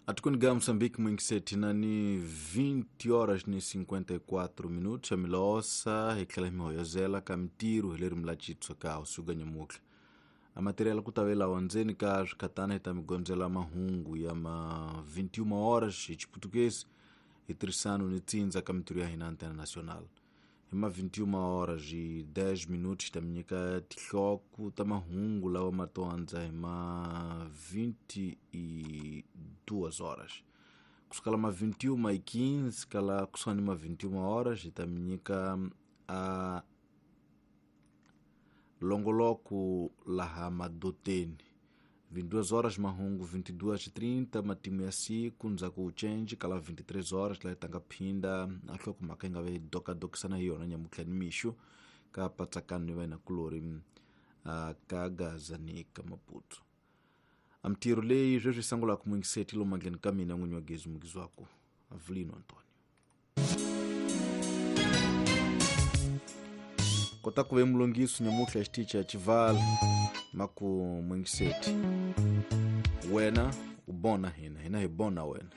Atikweni ga Moçambique mwingiseti na ni 20 horas ni 54 minutos amilosa hi tlhela hi mi hoyozela ka mintirho hi leri mi la citswa ka usuka nyamutlha a material ku ta ve lawa ndzeni ka swikhatana hi ta mi gondzela mahungu ya ma 21 horas hi chiputukezi hi tirhisano ni tsindza ka mintirho ya hina antena nacional hi ma 21 horas hi 10 minutos hi ta mi nyika tihloko ta mahungu lawa ma to andza hi ma 22 horas kusukela ma 21 hi 15 kala kusuka ni ma 21 horas hi ta mi nyika a longoloko laha madoteni 22 horas mahungu 22:30 matimu ya siku ndzhaku u change kala 23 horas laha tanga phinda a nhlokomhaka yi nga ve dokadokisana hi yona nyamutlha ni mixo ka patsakano ni vena kulori ka gaza ni ka maputo a mintirho leyi sweswi sangulaka muyingiseti lomu mandleni ka mina n'winyi wa gezi mukizwaku avelino antonio kota ku ve mulongiso nyamutlha xitichi ya chivala maku muyingiseti wena u bona hina hina hi bona wena.